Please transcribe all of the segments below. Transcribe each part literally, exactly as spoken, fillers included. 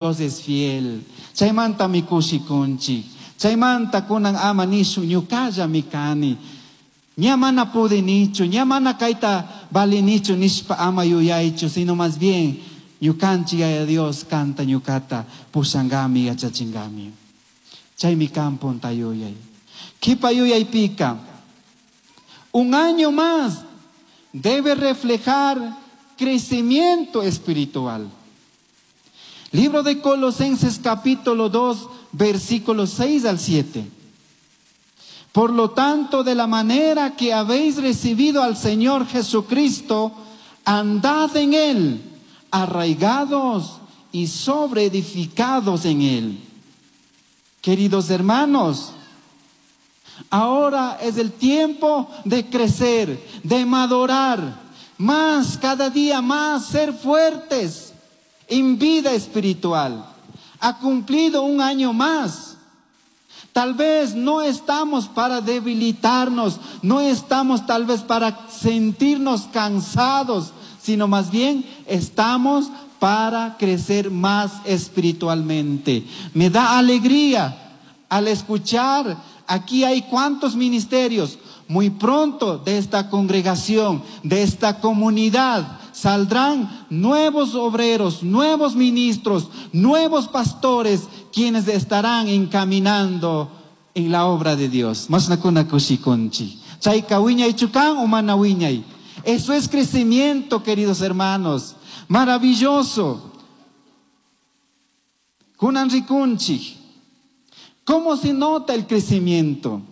Es fiel. Chaymantami kushikunchik. Chaymanta kunan ama nishun ñuqallami kani. Ña mana pudinichu, ña mana kayta valinichu nishpa ama yuyaychu, sino más bien ñukanchik Yaya Dios kanta ñuqata pushankami yachachingami. Chaymi kan punta yuyay. Kipa yuyaypika, un año más debe reflejar crecimiento espiritual. Libro de Colosenses capítulo dos, versículos seis al siete. Por lo tanto, de la manera que habéis recibido al Señor Jesucristo, andad en Él, arraigados y sobreedificados en Él. Queridos hermanos, ahora es el tiempo de crecer, de madurar, más cada día más ser fuertes en vida espiritual. Ha cumplido un año más. Tal vez no estamos para debilitarnos, no estamos tal vez para sentirnos cansados, sino más bien estamos para crecer más espiritualmente. Me da alegría al escuchar, aquí hay cuántos ministerios. Muy pronto de esta congregación, de esta comunidad, saldrán nuevos obreros, nuevos ministros, nuevos pastores, quienes estarán encaminando en la obra de Dios. Masnakuna kushikunchi. Chayka wiñay chukan o mana wiñay. Eso es crecimiento, queridos hermanos. Maravilloso. Kunan rikunchi. ¿Cómo se nota el crecimiento?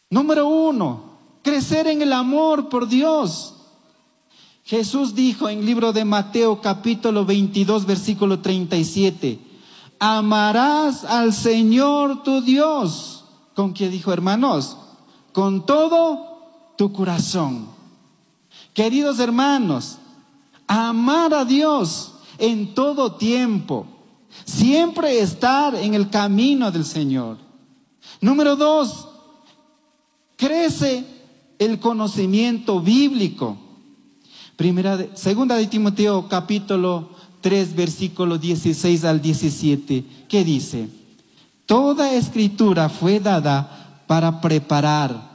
Número uno, crecer en el amor por Dios. Jesús dijo en el libro de Mateo capítulo veintidós, versículo treinta y siete, amarás al Señor tu Dios. ¿Con qué dijo, hermanos? Con todo tu corazón. Queridos hermanos, amar a Dios en todo tiempo. Siempre estar en el camino del Señor. Número dos, crece el conocimiento bíblico. Primera de, segunda de Timoteo capítulo tres, versículo dieciséis al diecisiete, ¿qué dice? Toda escritura fue dada para preparar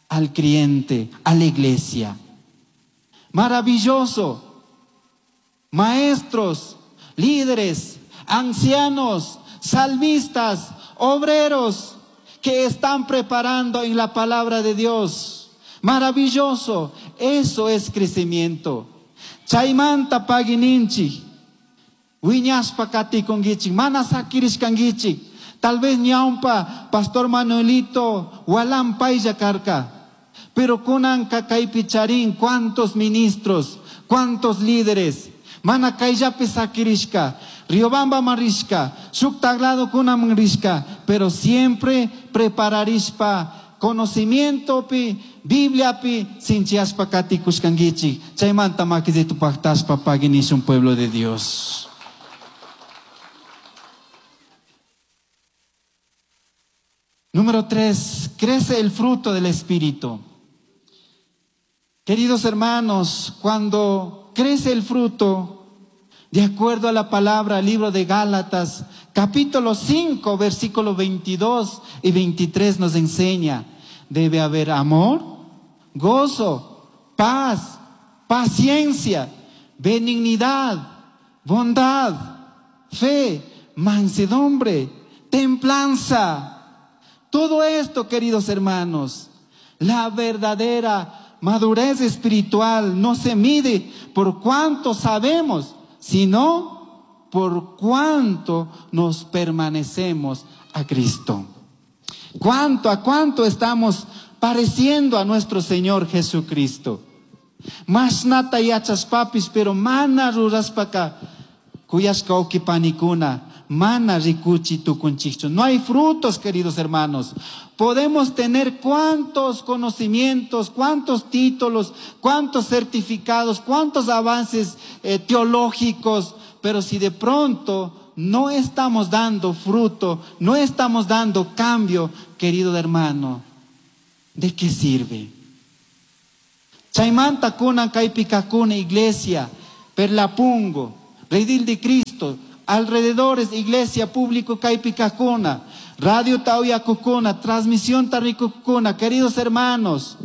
al creyente, a la iglesia. Maravilloso. Maestros, líderes, ancianos, salmistas, obreros que están preparando en la palabra de Dios. Maravilloso, eso es crecimiento. Chaymanta pagininchi, wiñaspa katikunkichik, mana sakirishkankichik. Tal vez ñawpa Pastor Manuelito walan paylla karka. Pero kunanka kaypi charin cuántos ministros, cuántos líderes. Mana kayllapi sakirishka, Riobamba marishka, shuk taglado kunaman rishka, pero siempre prepararishpa conocimiento pi, Biblia pi, sinchiaspa katikushkankichik. Chaymanta makizitu paktaspa paginishun pueblo de Dios. Número tres, crece el fruto del Espíritu. Queridos hermanos, cuando crece el fruto, de acuerdo a la palabra, libro de Gálatas, capítulo cinco, versículo veintidós y veintitrés nos enseña, debe haber amor, gozo, paz, paciencia, benignidad, bondad, fe, mansedumbre, templanza. Todo esto, queridos hermanos, la verdadera madurez espiritual no se mide por cuánto sabemos, sino por cuánto nos permanecemos a Cristo. ¿Cuánto, a cuánto estamos pareciendo a nuestro Señor Jesucristo? Mas nata yachas papis, pero mana ruraspaka, kuyashka ukipanikuna, mana rikuchi tukunchichu. No hay frutos, queridos hermanos. Podemos tener cuántos conocimientos, cuántos títulos, cuántos certificados, cuántos avances, eh, teológicos, pero si de pronto no estamos dando fruto, no estamos dando cambio, querido hermano, ¿de qué sirve? Chaymanta kunan kaypi kakuna iglesia, Perlapungo, Redil de Cristo, alrededores, iglesia, público kaypi kajkuna, radio uyakujkuna, transmisión rikujkuna, queridos hermanos,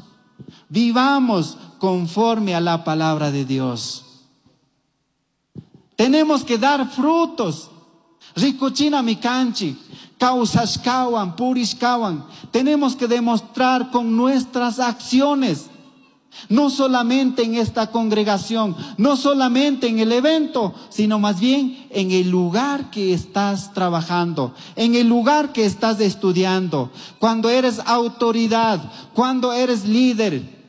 vivamos conforme a la palabra de Dios. Tenemos que dar frutos. Rikuchinami kanchik, kawsashkawan, purishkawan. Tenemos que demostrar con nuestras acciones. No solamente en esta congregación, no solamente en el evento, sino más bien en el lugar que estás trabajando, en el lugar que estás estudiando, cuando eres autoridad, cuando eres líder.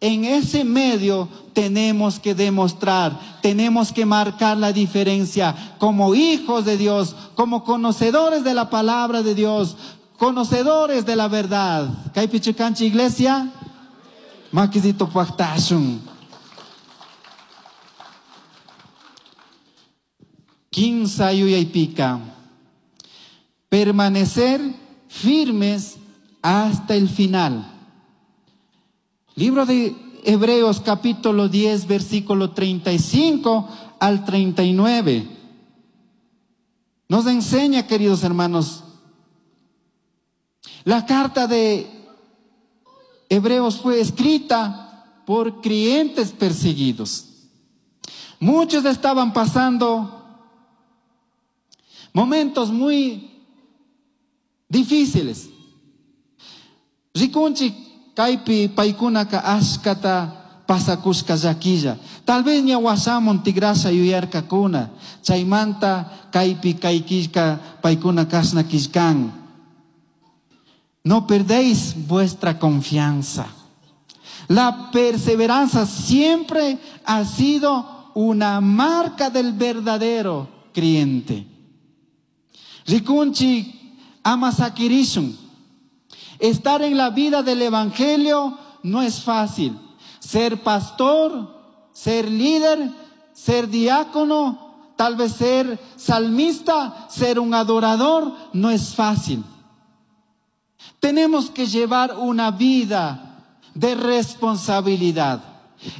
En ese medio tenemos que demostrar, tenemos que marcar la diferencia como hijos de Dios, como conocedores de la palabra de Dios, conocedores de la verdad. Kaypichu kanchik iglesia? Makisito paktashun. Kimsa yuyaypika. Permanecer firmes hasta el final. Libro de Hebreos capítulo diez, versículo treinta y cinco al treinta y nueve. Nos enseña, queridos hermanos, la carta de Hebreos fue escrita por creyentes perseguidos. Muchos estaban pasando momentos muy difíciles. Rikunchik kaypi paykunaka ashkata pasakushka llaquilla. Tal vez ña wasamun tigrasha yuyarkakuna. Chaymanta kaypi kay killka paykuna kashna killkan. No perdéis vuestra confianza. La perseverancia siempre ha sido una marca del verdadero creyente. Rikunchik ama sakirishun. Estar en la vida del evangelio no es fácil. Ser pastor, ser líder, ser diácono, tal vez ser salmista, ser un adorador, no es fácil. Tenemos que llevar una vida de responsabilidad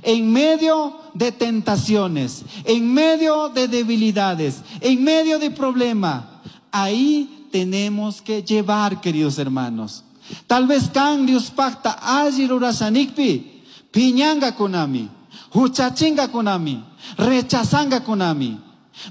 en medio de tentaciones, en medio de debilidades, en medio de problemas. Ahí tenemos que llevar, queridos hermanos. Tal vez kan Dios pacta alli rurashanikpi, piñanga kunami, huchachinga kunami, rechazanga kunami,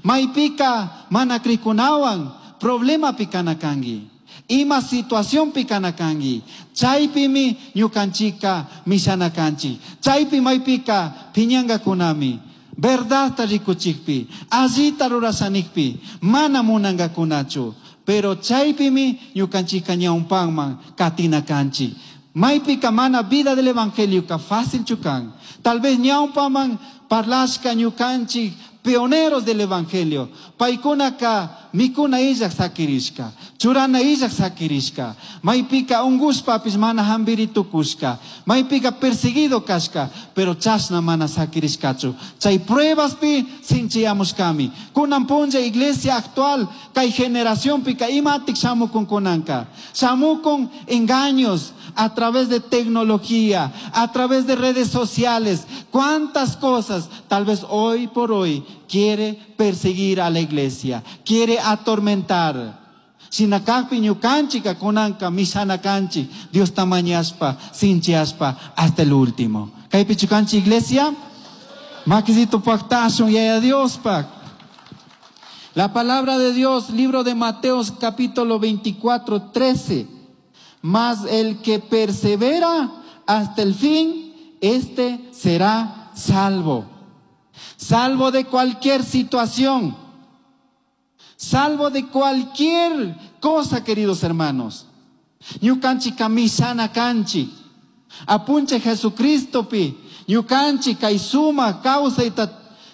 maypika mana krikunawan, problema pikana kangi. Ima situación pikana kangi. Chaypimi ñukanchika mishana kanchi. Chaypi maypika piñanga kunami. Verdadta rikuchikpi, allita rurashanikpi, mana munanga kunachu. Pero chaypimi ñukanchika ñawpanman katina kanchi. Maypika mana vida del evangelio ka fácil chukan. Tal vez ñawpaman parlashka ñukanchik pioneros del evangelio. Paykunaka mikuna illak sakirishka, churana illak sakirishka, maypika ungushpapis mana hambiri tukushka, maypika perseguido kashka, pero chashna mana sakirishkachu. Chay pruebaspi sinchiyamushkami. Kunan punlla iglesia actual, kay generación pika imatik shamukun kunanka. Shamukun engaños a través de tecnología, a través de redes sociales. Cuántas cosas tal vez hoy por hoy quiere perseguir a la iglesia, quiere atormentar. Shinakakpi ñukanchika kunanka mishana kanchi, Dios tamañaspa, sinchiaspa hasta el último. Kaypichu kanchi iglesia? Makisito paktashun yaya Dios pak. La palabra de Dios, libro de Mateos capítulo veinticuatro, trece. Mas el que persevera hasta el fin, este será salvo. Salvo de cualquier situación. Salvo de cualquier cosa, queridos hermanos. Ñukanchi kamisana kanchi. Apunche Jesucristo pi. Ñukanchi kaisuma causa ita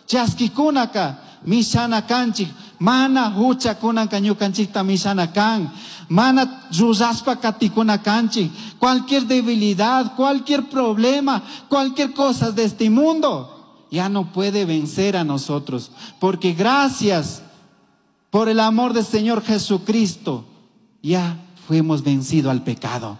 chaskikunaka mishana kanchi. Mana hucha kunanka ñukanchikta mishana kan. Mana ruraspa katikuna kanchi. Cualquier debilidad, cualquier problema, cualquier cosa de este mundo ya no puede vencer a nosotros. Porque gracias por el amor del Señor Jesucristo, ya fuimos vencidos al pecado.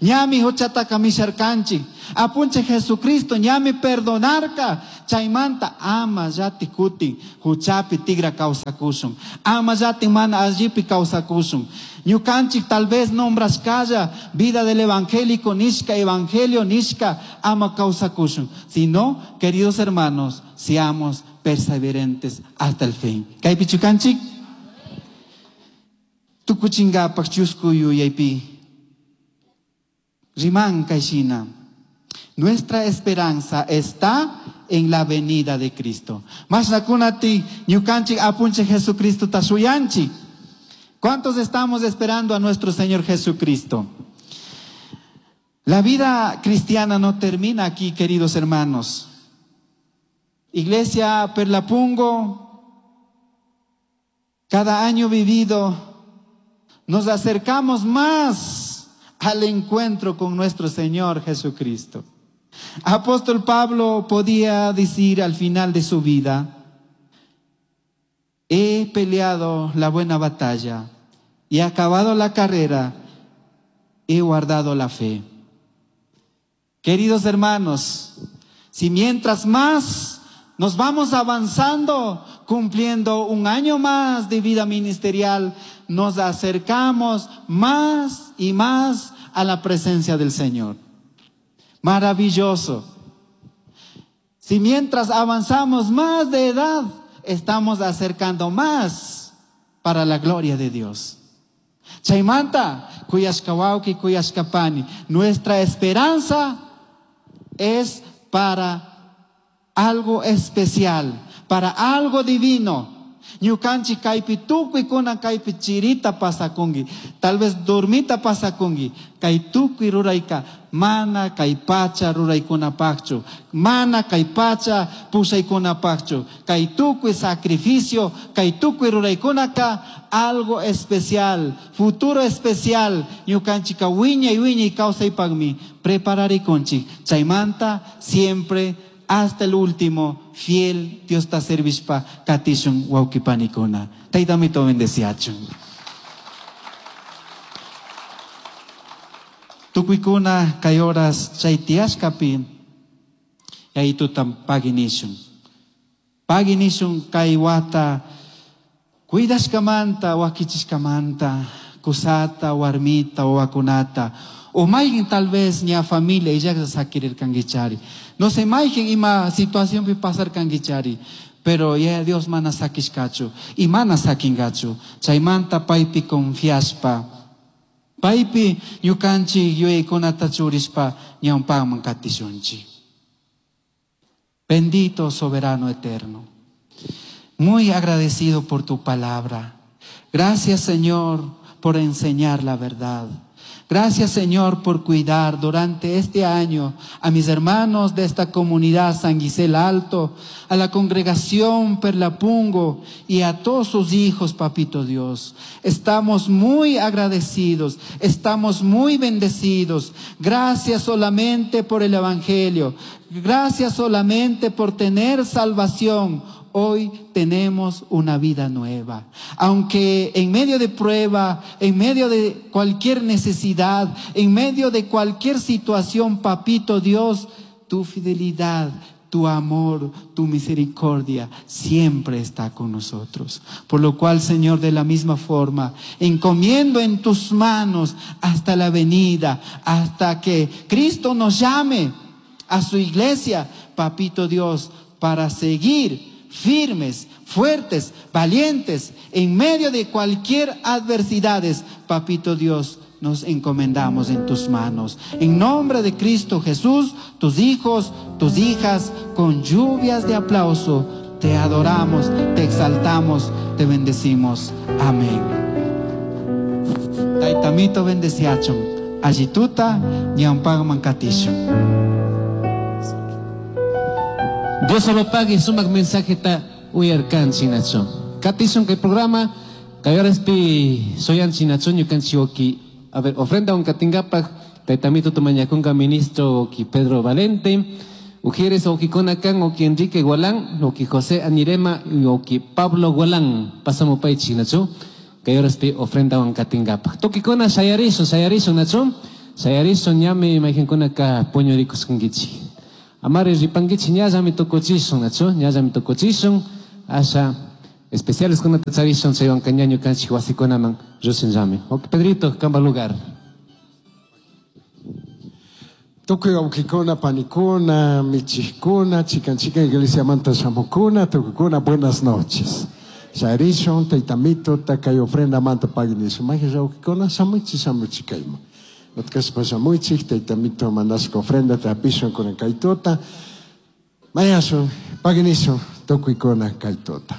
Ñami huchataka misharkanchik. Apunchik Jesucristo ñami perdonarka. Chaymanta ama llati kutin huchapi tigra kawsakushun. Ama llati mana allipi kawsakushun. Ñukanchik tal vez nombrashkalla vida del evangélico nishka, evangelio nishka, ama kawsakushun. Sino, queridos hermanos, seamos perseverentes hasta el fin. Kaypi chukanchik? Tukuchingapak chusku yuyaypi. Riman kayshina. Nuestra esperanza está en la venida de Cristo. Mashnakunati ñukanchik apunchik Jesucristo tashuyanchik. ¿Cuántos estamos esperando a nuestro Señor Jesucristo? La vida cristiana no termina aquí, queridos hermanos. Iglesia Perlapungo, cada año vivido, nos acercamos más al encuentro con nuestro Señor Jesucristo. Apóstol Pablo podía decir al final de su vida: he peleado la buena batalla y he acabado la carrera, he guardado la fe. Queridos hermanos, si mientras más nos vamos avanzando, cumpliendo un año más de vida ministerial, nos acercamos más y más a la presencia del Señor. Maravilloso. Si mientras avanzamos más de edad, estamos acercando más para la gloria de Dios. Chaymanta, kuyashka wawki, kuyashka pani, nuestra esperanza es para algo especial, para algo divino. Ñukanchik kaypi tukuy kunan kaypi chirita pasakunki, tal vez dormita pasakunki, kay tukuy rurayka mana kay pacha ruraykunapaqchu, mana kay pacha pushaykunapaqchu, kay tukuy sacrificio, kay tukuy ruraykunaka algo especial, futuro especial, ñukanchika wiñay wiñay kawsaypaqmi prepararikunchik, chaymanta siempre hasta el último, fiel Dios ta servishpa katishun wawqipanikuna. Taytamito bendeciachun. Tukuykuna kay horas chay tiyashkapi yayitutam paginishun. Paginishun kay wata cuidashkamanta, wakichishkamanta, kusata, warmita, wawakunata. O mayqin tal vez ña familia illaqta sakirirkankichari. No sé mayqin ima situacionpi pasarkankichari, pero ya Dios mana sakishkachu y mana sakingachu. Chaymanta paypi confiaspa, paypi ñukanchik yuyaykunata churishpa ñawpaman katishunchik. Bendito soberano eterno, muy agradecido por tu palabra. Gracias, Señor, por enseñar la verdad. Gracias, Señor, por cuidar durante este año a mis hermanos de esta comunidad San Gisel Alto, a la congregación Perlapungo y a todos sus hijos, Papito Dios. Estamos muy agradecidos, estamos muy bendecidos. Gracias solamente por el Evangelio. Gracias solamente por tener salvación. Hoy tenemos una vida nueva. Aunque en medio de prueba, en medio de cualquier necesidad, en medio de cualquier situación, Papito Dios, tu fidelidad, tu amor, tu misericordia siempre está con nosotros. Por lo cual, Señor, de la misma forma, encomiendo en tus manos hasta la venida, hasta que Cristo nos llame a su iglesia, Papito Dios, para seguir firmes, fuertes, valientes, en medio de cualquier adversidades, Papito Dios, nos encomendamos en tus manos. En nombre de Cristo Jesús, tus hijos, tus hijas, con lluvias de aplauso, te adoramos, te exaltamos, te bendecimos. Amén. Taitamito bendeciachon, allituta, ñampagman katishon. Dios solo pague sumak mensaje ta uyarkan chinacho. Katishon que programa kayorespi soyan chinacho ñukanchi oki. A ver, ofrenda un katingapak taitamito tumañakunga ministro oki Pedro Valente, Ujieres oki konakan oki Enrique Gualán, oki José Anirema y oki Pablo Gualán. Pasamos pay chinacho. Kayorespi ofrenda un katingapak. Toki kona shayarishon, shayarishon nacho. Shayarishun ñami mayqinkunaka puñurikusqankichik. Amari ripankichik ñallami tukuchishun, nachu? Ñallami tukuchishun. Asha especiales kunata charishun chaywanka ña ñukanchik wasikunaman rishunllami. Ok, Pedrito, kamba lugar. Tukuy wawqikuna, panikuna, michikuna, chikan chikan iglesiamanta shamukuna, tukukuna, buenas noches. Shayarishun, taytamito, takay ofrenda manta paginishun. Maje wawqikuna, shamuchik, shamuchik kayman. Utkashpa shamuchik, taytamito mandashka ofrenda tapishun kunan kaytuta. Mayashun, paginishun, tukuykuna kaytuta.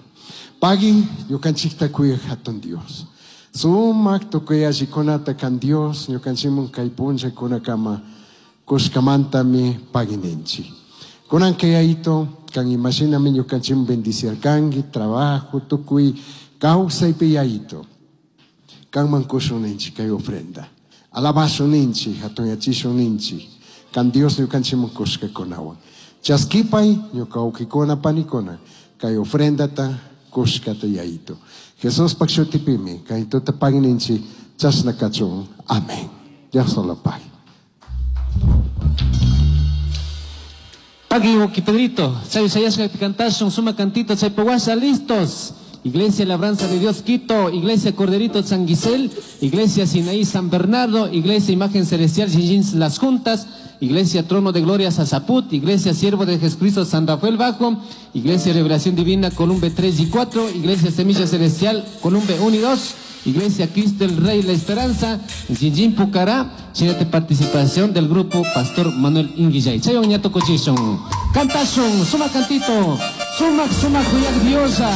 Pagin, ñukanchikta kuyaq hatun Dios. Sumak tukuy allikunata kan Dios, ñukanchikmun kay punllakunakama kushkamantami pagininchik. Kunan kayayto, kan imashinami ñukanchikmun bendiciarkanki, trabajo, tukuy kawsaypi yayito. Kanman kushun ninchik kay ofrenda. Alabashun ninchik, hatunyachishun ninchik. Kan Dios ñukanchikmun kushkakunawan. Chaskipay, ñuka wawqikuna, panikuna, kay ofrendata kushkata yayito. Jesuspak shutipimi, kay tuta pagininchik, chashna kachun. Amén. Dios solo pague. Pagui, Woki Pedrito, Chay Sayashka cantashun, suma cantito, chay paguasha, listos. Iglesia Labranza de Dios Quito, Iglesia Corderito San Guisel, Iglesia Sinaí San Bernardo, Iglesia Imagen Celestial Xinxin Las Juntas, Iglesia Trono de Gloria Sasaput, Iglesia Siervo de Jesucristo San Rafael Bajo, Iglesia Revelación Divina Columbe tres y cuatro, Iglesia Semilla Celestial Columbe uno y dos, Iglesia Cristo el Rey La Esperanza, Xinxin Pucará, Chinate participación del grupo Pastor Manuel Inguillay. Chayon Ñato Cochishon, Cantashon, suma cantito, suma, suma, cuyak diosa.